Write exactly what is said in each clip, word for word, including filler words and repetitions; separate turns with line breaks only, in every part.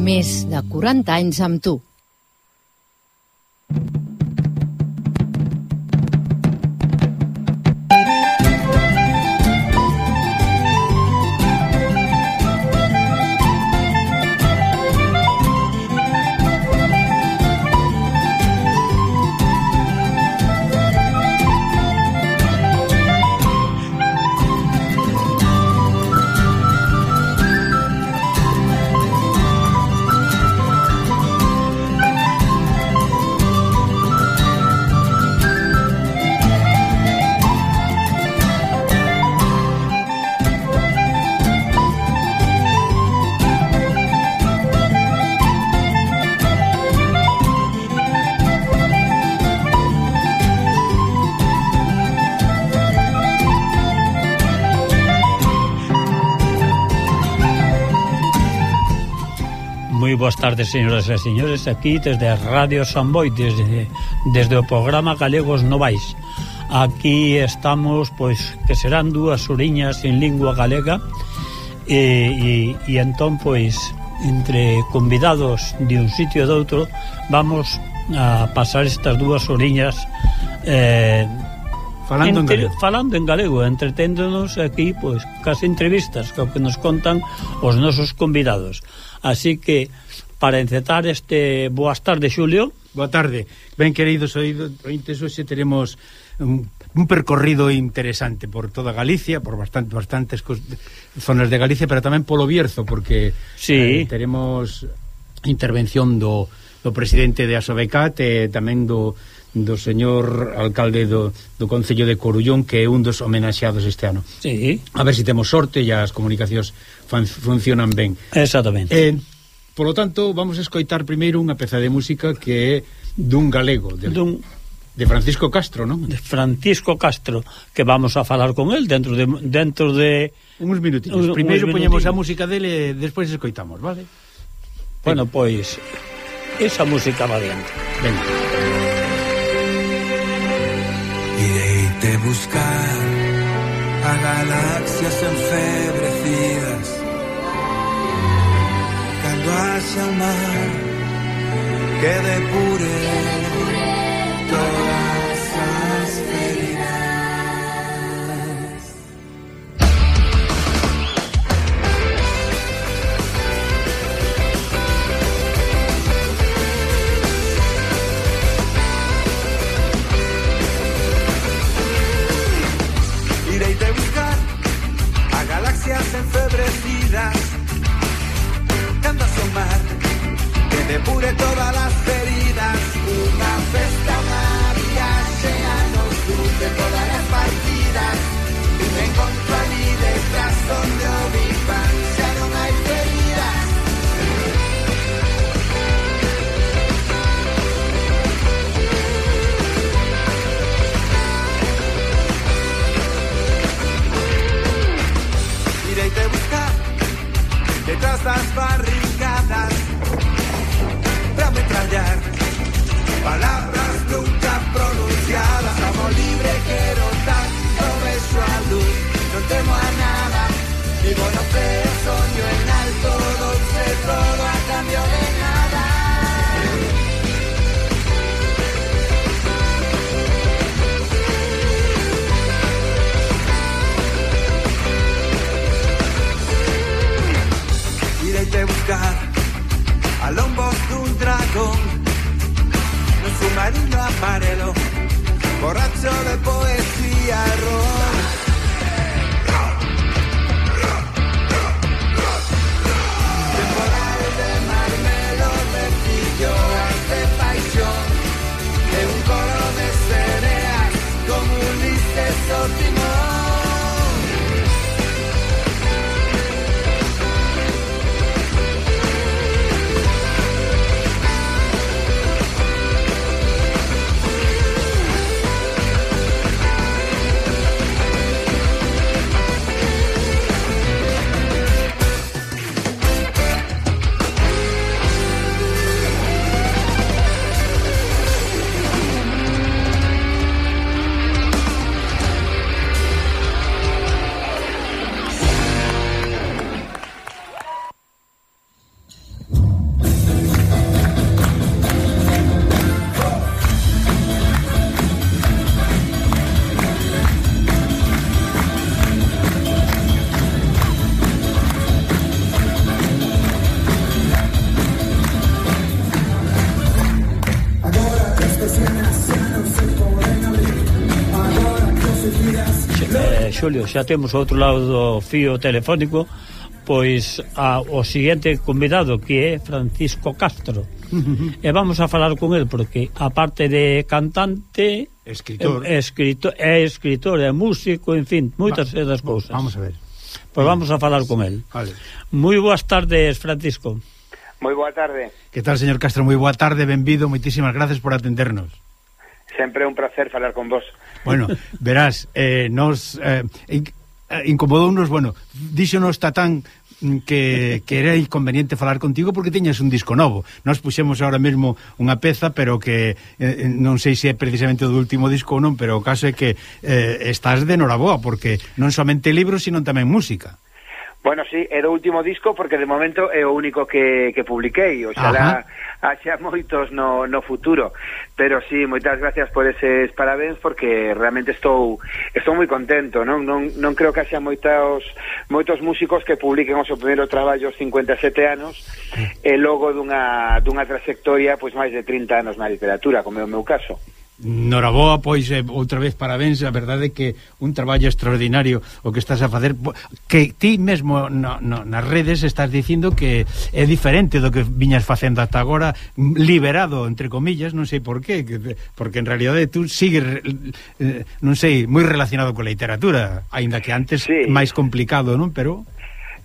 Més de quaranta anys amb tu.
Boas tardes, señoras e señores, aquí desde Radio Samboy, desde, desde o programa Galegos Novais. Aquí estamos, pois, que serán dúas horiñas en lingua galega e, e, e entón, pois, entre convidados de un sitio e de outro, vamos a pasar estas dúas horiñas eh,
falando,
entre,
en galego.
falando en galego, entreténdonos aquí, pois, cas entrevistas que, que nos contan os nosos convidados. Así que, para encetar este... Boas tardes, Xulio.
Boa tarde. Ben, queridos ointes, hoxe teremos un, un percorrido interesante por toda Galicia, por bastante, bastantes zonas de Galicia, pero tamén polo Bierzo, porque
sí.
eh, teremos intervención do, do presidente de Asobecat e tamén do, do señor alcalde do, do Concello de Corullón, que é un dos homenaxeados este ano.
Sí.
A ver se si temos sorte e as comunicacións fan, funcionan ben.
Exactamente.
Eh, Polo tanto, vamos a escoitar primeiro unha peza de música que é dun galego, de,
dun,
de Francisco Castro, non?
De Francisco Castro, que vamos a falar con el dentro de... dentro de
uns minutitos. Un, primeiro poñemos a música dele e despois escoitamos, vale?
Bueno, pois, esa música va adiante.
Venga.
Ireite buscar a galaxias enfebrecidas, hacia el mar que depure todas las feridas. Iré de buscar a galaxias enfebrecidas, cando asomar que depure todas las heridas, una festa, una viaje a nos de todas las partidas, y me encontro allí detrás donde o Big Bang ya no hay heridas. Iré a buscar detrás las barricadas para metrallar palabras nunca pronunciadas. Amo libre, quiero tanto, beso a luz, no temo a nada, vivo no feo, sueño en alto, dulce todo a cambio de nada. Iré a buscar a lombos de un dragón, un submarino amarelo, borracho de poesía, ron.
Xulio, xa temos ao outro lado do fío telefónico pois a, o seguinte convidado, que é Francisco Castro. E vamos a falar con el porque aparte de cantante,
escritor,
é escritor, é escritor, é músico, en fin, moitas
Va,
das cousas.
Vamos a ver.
Pois vamos a falar con el.
Vale.
Moi boas tardes, Francisco.
Moi boa tarde.
Que tal, señor Castro? Moi boa tarde, benvido, moitísimas gracias por atendernos.
Sempre é un placer falar con vos.
Bueno, verás, eh, nos eh, incomodounos, bueno, díxonos Tatán que, que era inconveniente falar contigo porque tiñas un disco novo. Nos puxemos ahora mesmo unha peza, pero que eh, non sei se é precisamente do último disco ou non, pero o caso é que eh, estás de noraboa, porque non somente libros, sino tamén música.
Bueno, sí, é do último disco porque de momento é o único que, que publiquei, oxalá haxa moitos no, no futuro, pero sí, moitas gracias por eses parabéns porque realmente estou estou moi contento, non non non creo que haxa moitos moitos músicos que publiquen o seu primeiro traballo aos cincuenta e sete anos e logo dunha dunha trayectoria pois máis de trinta anos na literatura, como é o meu caso.
Noraboa, pois, eh, outra vez parabéns. A verdade é que un traballo extraordinario o que estás a facer, que ti mesmo no, no, nas redes estás dicindo que é diferente do que viñas facendo hasta agora, liberado, entre comillas, non sei por qué, porque en realidade tú sigues, eh, non sei, moi relacionado con a literatura, aínda que antes sí, máis complicado, non? Pero...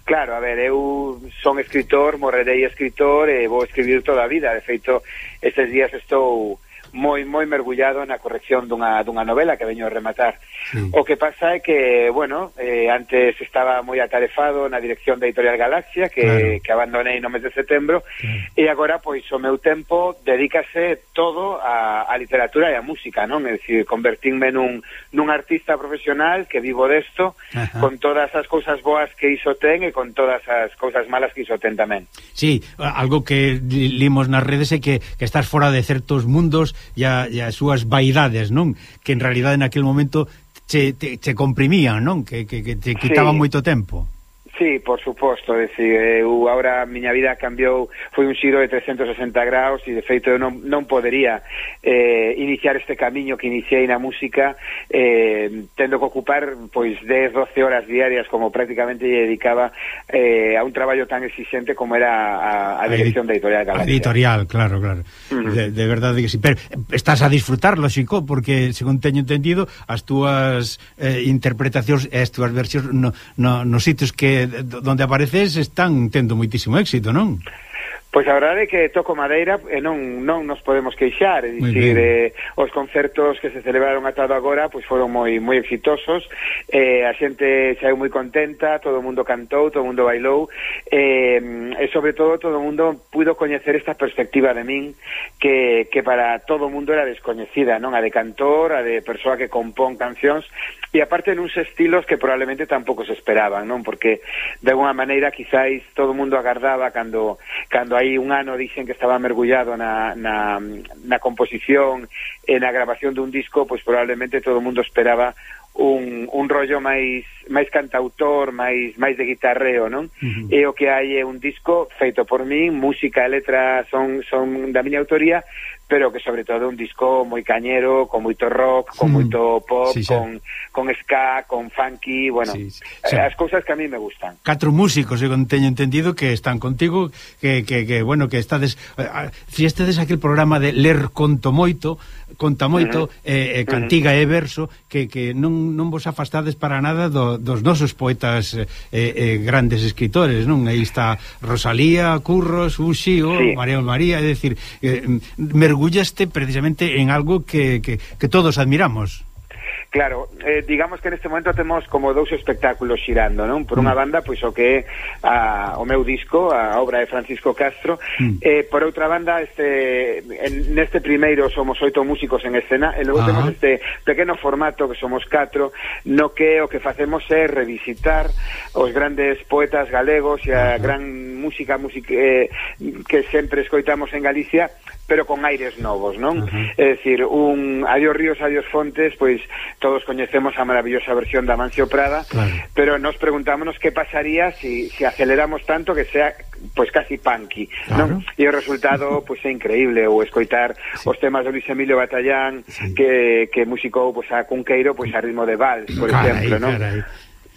Claro, a ver, eu son escritor, morrerei escritor e vou escribir toda a vida. De feito, estes días estou moi moi mergullado na corrección dunha, dunha novela que veño a rematar. Sí. O que pasa é que, bueno, eh, antes estaba moi atarefado na dirección da Editorial Galaxia, que, claro, que abandonei no mes de setembro, claro, e agora, pois, o meu tempo dedícase todo a, a literatura e a música, non? É dicir, convertínme nun, nun artista profesional que vivo desto, ajá, con todas as cousas boas que iso ten e con todas as cousas malas que iso ten tamén.
Sí, algo que limos nas redes é que, que estás fora de certos mundos e, a, e as súas vaidades, non? Que en realidade naquele momento che, te, che comprimían, non? Que, que, que te quitaban, sí, moito tempo.
Sí, por suposto, é dicir, eu agora a miña vida cambiou, foi un xiro de trescentos e sesenta graus e de feito eu non, non podería eh, iniciar este camiño que iniciei na música eh, tendo que ocupar pois dez, doce horas diarias como prácticamente lle dedicaba eh, a un traballo tan exigente como era a, a dirección da Editorial Galaxia.
A editorial, claro, claro. Uh-huh. de, de verdade que sí, pero estás a disfrutar, lógico, porque según teño entendido as túas eh, interpretacións e as túas versións no, no, nos sitios que donde apareces están tendo moitísimo éxito, non?
Pois a verdade é que toco madeira e non non nos podemos queixar, é dicir, eh, os concertos que se celebraron ata agora pois foron moi moi exitosos, eh, a xente saiu moi contenta, todo o mundo cantou, todo o mundo bailou, eh, e sobre todo todo o mundo puido coñecer esta perspectiva de min que, que para todo o mundo era descoñecida, non? A de cantor, a de persoa que compón cancións, e aparte nuns estilos que probablemente tampouco se esperaban, non? Porque de alguna maneira quizáis todo o mundo agardaba cando cando hai un ano dixen que estaba mergullado na, na, na composición e na grabación dun disco, pois probablemente todo o mundo esperaba un, un rollo máis máis cantautor, máis máis de guitarreo, non? Uh-huh. E o que hai é un disco feito por min, música e letra son son da miña autoría, pero que sobre todo un disco moi cañero, con moito rock, con mm. moito pop, sí, sí, con, con ska, con funky, bueno, sí, sí, sí, as cousas que a mí me gustan.
Catro músicos, eu teño entendido, que están contigo, que, que, que bueno, que estades, uh, fiestedes aquel programa de ler conto moito, conta moito, uh-huh, eh, eh, cantiga uh-huh, e verso, que, que non, non vos afastades para nada do, dos nosos poetas eh, eh, grandes escritores, non? Aí está Rosalía, Curros, Uxío, sí, María María, é dicir, eh, mergullaste precisamente en algo que, que, que todos admiramos.
Claro, eh, digamos que neste momento temos como dous espectáculos xirando, non? Por unha banda, pois o que é a, o meu disco, a obra de Francisco Castro, mm. eh, por outra banda, este en, neste primeiro somos oito músicos en escena, e logo ah. temos este pequeno formato que somos catro, no que o que facemos é revisitar os grandes poetas galegos e a ah. gran música, música eh, que sempre escoitamos en Galicia, pero con aires novos, non? Uh-huh. É dicir, un Adiós Ríos, Adiós Fontes, pois todos coñecemos a maravillosa versión da Amancio Prada, claro. Pero nos preguntámonos que pasaría si, si aceleramos tanto que sea pois casi punky, claro. Non? E o resultado pois é increíble, ou escoitar sí. Os temas de Luis Emilio Batallán, sí. que, que musicou pois a Cunqueiro pois a ritmo de vals, por carai, exemplo, non? Carai.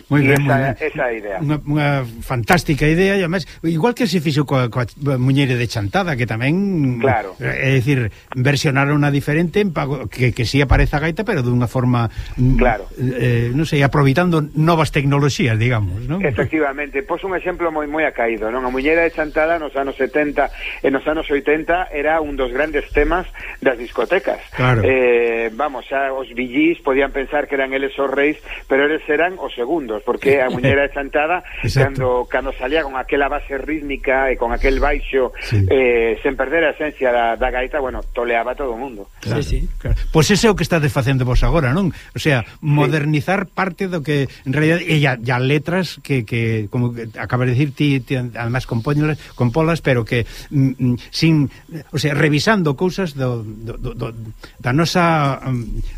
Moi ben,
esa, esa idea.
Unha, unha fantástica idea, e además, igual que se fixo coa, coa Muñeira de Chantada, que tamén,
claro.
É dicir, versionaron unha diferente que, que si aparece a gaita, pero dunha forma,
claro.
eh, non sei, aproveitando novas tecnoloxías, digamos, non?
Efectivamente, pois un exemplo moi moi acaído, non? A Muñeira de Chantada nos anos setenta e nos anos oitenta era un dos grandes temas das discotecas.
Claro.
Eh, vamos, xa os villís podían pensar que eran eles os reis, pero eles eran os segundos, porque a Muñeira de Chantada cando, cando salía con aquela base rítmica e con aquel baixo sí. eh, sen perder a esencia da, da gaita, bueno, toleaba todo o mundo.
Claro, sí, sí. Claro. Pois ese é o que estades facendo vos agora, non? O sea, modernizar sí. parte do que en realidad e ya, ya letras que, que como que acabas de dicir ti, ti además compóñelas, compolas, pero que mm, sin, o sea, revisando cousas do, do, do, do da nosa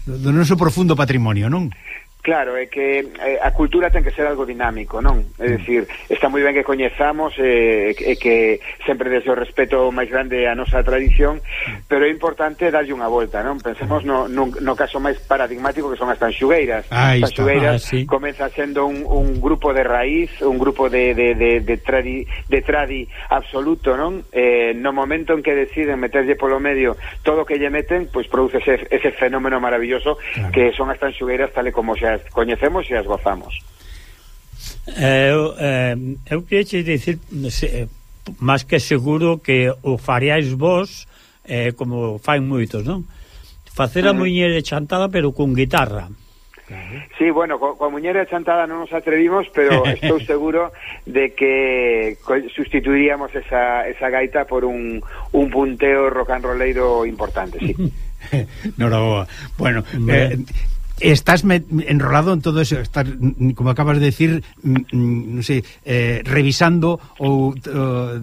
do noso profundo patrimonio, non?
Claro, é que eh, a cultura ten que ser algo dinámico, non? É dicir, está moi ben que coñezamos e eh, que sempre desde o respeto máis grande a nosa tradición, pero é importante darlle unha volta, non? Pensemos no, no, no caso máis paradigmático que son as tanxugueiras.
Ah,
as tanxugueiras
ah, sí.
comeza sendo un, un grupo de raíz, un grupo de, de, de, de, tradi, de tradi absoluto, non? Eh, no momento en que deciden meterlle polo medio todo o que lle meten, pois produce ese, ese fenómeno maravilloso, claro. Que son as tanxugueiras tal e como xa coñecemos e as gozamos.
Eu, eh, eu queria dicir se, máis que seguro que o faríais vos eh, como fain moitos, non? Facer a uh-huh. Muñeira de Chantada pero con guitarra.
Claro. Sí, bueno, co, coa Muñeira de Chantada non nos atrevimos, pero estou seguro de que sustituiríamos esa, esa gaita por un, un punteo rock and rolleiro importante, sí.
Noraboa. Bueno, eh, estás enrolado en todo eso, estás, como acabas de decir, non sei, eh, revisando ou uh,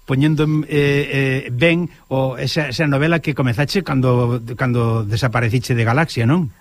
poñendo eh, eh, ben o esa, esa novela que comezache cando, cando desapareciche de Galaxia, non?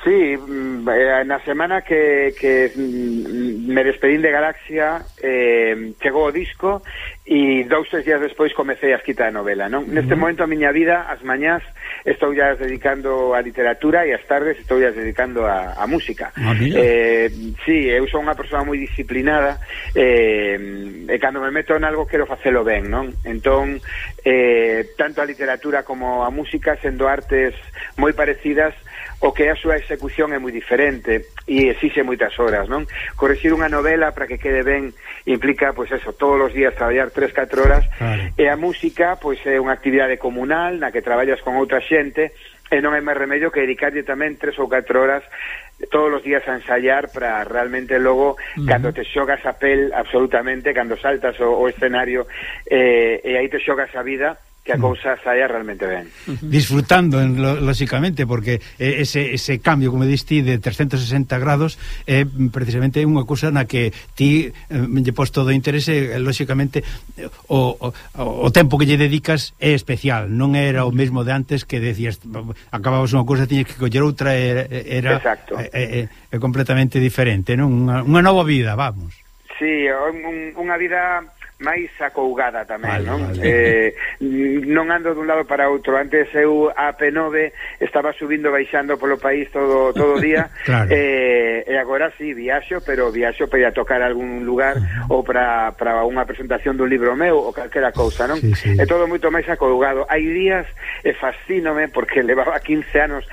Sí, na semana que, que me despedín de Galaxia eh, chegou o disco e dous tres días despois comecei a escrita de novela, non? Uh-huh. Neste momento a miña vida, as mañás estou ya dedicando a literatura e as tardes estou ya dedicando a, a música.
Ah,
eh, sí, eu sou unha persoa moi disciplinada eh, e cando me meto en algo quero facelo ben, non? Entón, eh, tanto a literatura como a música, sendo artes moi parecidas, o que a súa execución é moi diferente e exixe moitas horas, non? Correxir unha novela para que quede ben implica, pois eso, todos os días traballar tres catro horas, claro. E a música, pois é unha actividade comunal na que traballas con outra xente e non hai máis remedio que dedicarlle tamén tres ou catro horas todos os días a ensayar para realmente logo, uh-huh. Cando te xogas a pel absolutamente, cando saltas o, o escenario eh, e aí te xogas a vida, que a cousa saia realmente ben.
Disfrutando, lógicamente, porque ese, ese cambio, como diste, de trescentos sesenta grados é eh, precisamente unha cousa na que ti eh, lle pos todo o interese, lógicamente o, o, o tempo que lle dedicas é especial, non era o mesmo de antes que decías, acababas unha cousa, tiñes que coller outra, era, era é, é, é completamente diferente, non? Unha, unha nova vida, vamos.
Sí, un, unha vida máis acougada tamén, vale, non?
Vale.
Eh, non ando dun lado para outro. Antes eu a P nove estaba subindo baixando polo país todo todo o día.
Claro.
eh, e agora sí, viaxo, pero viaxo para ir a tocar algún lugar uh-huh. ou para, para unha presentación dun libro meu ou calquera cousa, non?
Sí, sí.
É todo moito máis acougado. Hai días e fascínome porque levaba quince anos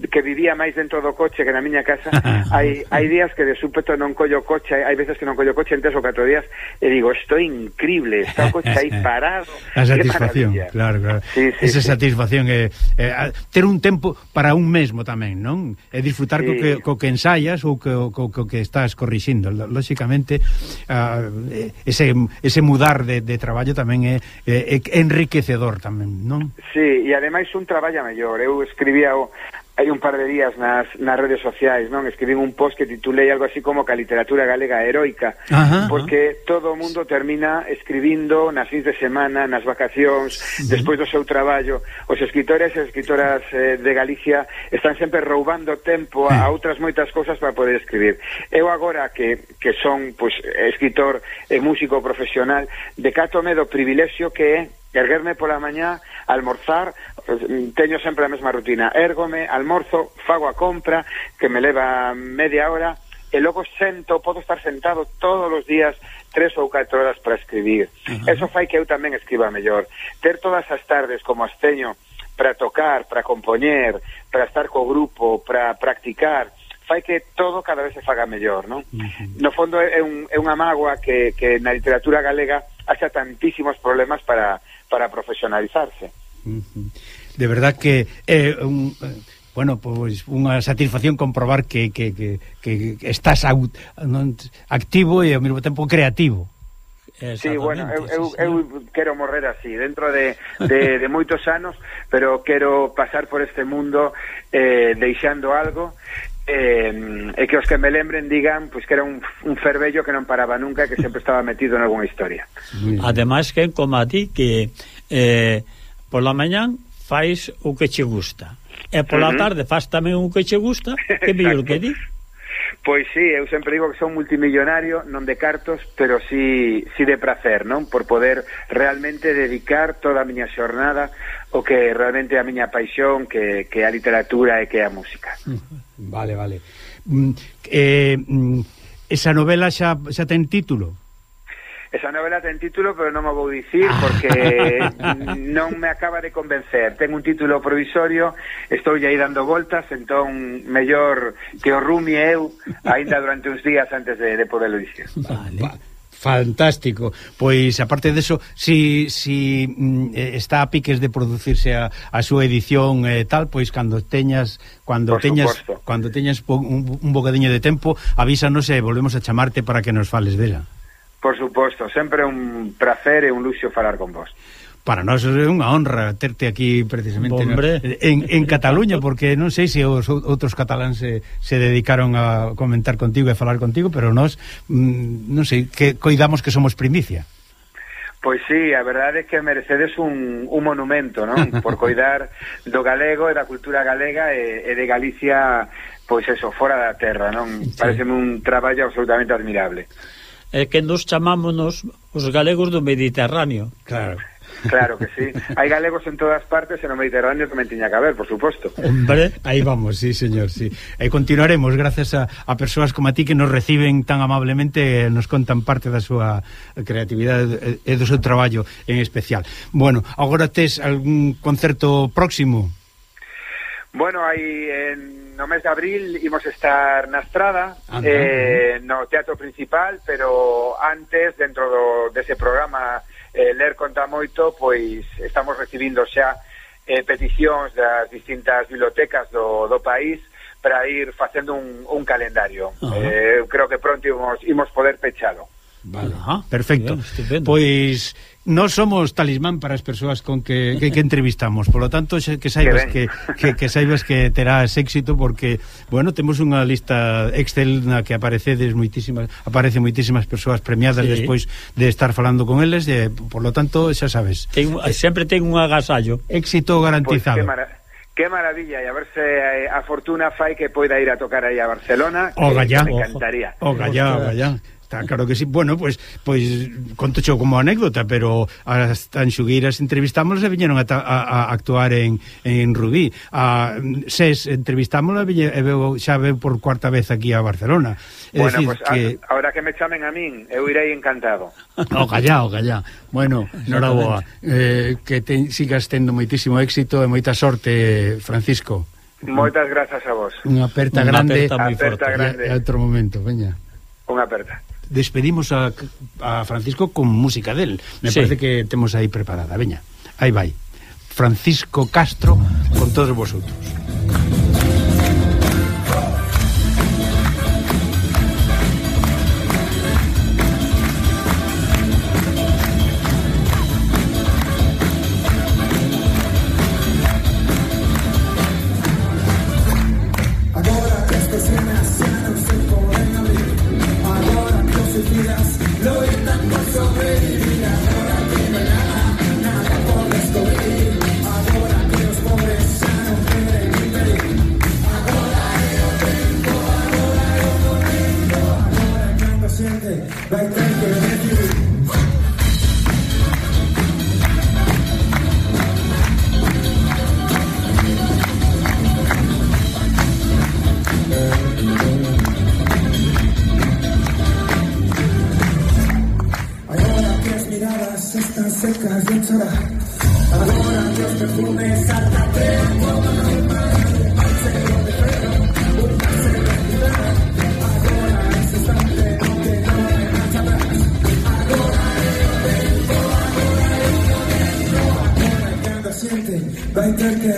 que vivía máis dentro do coche que na miña casa. hai hai días que de súpeto non collo coche, hai veces que non collo coche en tres ou catro días e digo, isto é increíble, está o coche aí parado.
A satisfacción, claro, claro. Sí, sí, esa sí. Satisfacción é, é ter un tempo para un mesmo tamén, non? É disfrutar sí. co, que, co que ensayas ou co, co, co que estás corrixindo. Lógicamente uh, ese, ese mudar de, de traballo tamén é, é, é enriquecedor tamén, non?
Sí, e ademais un traballa mellor. Eu escribía o hai un par de días nas, nas redes sociais, non? Escribín un post que titulei algo así como que a literatura galega é heroica, ajá, porque ajá. todo o mundo termina escribindo nas fins de semana, nas vacacións, uh-huh. despois do seu traballo. Os escritores e escritoras eh, de Galicia están sempre roubando tempo a, a outras moitas cousas para poder escribir. Eu agora que, que son pues, escritor e músico profesional, decátome do privilexio que é erguerme pola mañá, almorzar, teño sempre a mesma rutina, ergome, almorzo, fago a compra, que me leva media hora, e logo sento, podo estar sentado todos os días tres ou catro horas para escribir. Uh-huh. Eso fai que eu tamén escriba mellor. Ter todas as tardes como as teño para tocar, para compoñer, para estar co grupo, para practicar, fai que todo cada vez se faga mellor, non? Uh-huh. No fondo é, un, é unha mágoa que, que na literatura galega haxa tantísimos problemas para para profesionalizarse.
De verdad que é eh, un bueno, pois unha satisfacción comprobar que, que, que, que estás out, non, activo e ao mesmo tempo creativo.
Sí, bueno, eu, eu, eu quero morrer así, dentro de, de, de moitos anos, pero quero pasar por este mundo eh, deixando algo Eh, e que os que me lembren digan pues, que era un, un fervello que non paraba nunca, que sempre estaba metido en alguna historia.
Ademais que como a ti que eh, pola mañán fais o que che gusta e pola uh-huh. tarde faz tamén o que che gusta, que mellor que di.
Pois sí, eu sempre digo que son multimillonario, non de cartos, pero sí, sí de prazer, non? Por poder realmente dedicar toda a miña xornada o que realmente é a miña paixón, que, que é a literatura e que é a música.
Vale, vale. Mm, eh, esa novela xa, xa ten título?
Esa novela ten título, pero non o vou dicir porque non me acaba de convencer. Ten un título provisorio, estou aí dando voltas, entón mellor que o rumie eu aínda durante uns días antes de, de poderlo dicir.
Vale. Fantástico. Pois, aparte de eso, si, si mm, está a piques de producirse a, a súa edición e eh, tal, pois cando teñas cando Por teñas supuesto. Cando teñas un, un bocadiño de tempo, avísanos e volvemos a chamarte para que nos fales dela.
Por suposto, sempre un placer e un luxo falar con vos.
Para nós é unha honra terte aquí precisamente no, en, en Cataluña, porque non sei se os outros cataláns se, se dedicaron a comentar contigo e falar contigo, pero nós, mm, non sei, que coidamos que somos primicia.
Pois sí, a verdade é que merecedes un, un monumento, non? Por coidar do galego e da cultura galega e, e de Galicia, pois eso, fora da terra, non? Sí. Pareceme un traballo absolutamente admirable.
É que nos chamámonos os galegos do Mediterráneo.
Claro.
Claro que sí. Hai galegos en todas partes e no Mediterráneo tamén tiña que haber, por suposto.
Hombre, aí vamos, sí, señor, sí. E continuaremos gracias a, a persoas como a ti que nos reciben tan amablemente e nos contan parte da súa creatividade e do seu traballo en especial. Bueno, agora tes algún concerto próximo?
Bueno, aí en, no mes de abril imos estar na Estrada, eh, no Teatro Principal, pero antes, dentro do, dese programa eh, Ler Conta Moito, pois estamos recibindo xa eh, peticións das distintas bibliotecas do, do país para ir facendo un, un calendario. Uh-huh. eh, creo que pronto imos, imos poder pechalo.
Vale, ajá, perfecto. Bien, pois nós somos talismán para as persoas con que, que, que entrevistamos, por lo tanto que saibas que, que, que saibas que terás éxito, porque bueno, temos unha lista Excel na que aparecedes moitísimas, aparece moitísimas persoas premiadas, sí, despois de estar falando con eles, e, por lo tanto xa sabes,
ten, sempre ten un agasallo,
éxito garantizado.
Pues, qué maravilla, e a ver se a fortuna fai que poida ir a tocar aí a Barcelona,
o gallá,
me encantaría.
O gallá, o gallá. Está claro que sí. Bueno, pois pues, pues, conto xo como anécdota, pero as tanxugueiras entrevistámonos e viñeron a, a, a actuar en, en Rubí. A Ses entrevistámonos e veo, xa veo por cuarta vez aquí a Barcelona. É
bueno,
decir,
pues
que...
a, ahora que me chamen a min, eu irei encantado.
O gallá, o gallá. Bueno, noraboa. Eh, que te, sigas tendo moitísimo éxito e moita sorte, Francisco.
Moitas grazas a vos.
Unha aperta Una grande.
Aperta moi forte. Grande.
E, e outro momento, veña.
Unha aperta.
Despedimos a, a Francisco con música del. Me sí. parece que temos aí preparada. Veña, aí vai. Francisco Castro con todos vosotros.
vai ter que decidir. Agora que as miradas están secas de chorar, agora que os perfumes saltan tempo normal, parcero de ferro, un parcero de guitarra, agora ese instante onde non hai marcha atrás, agora é o tempo, agora é o momento, agora cando a xente vai ter que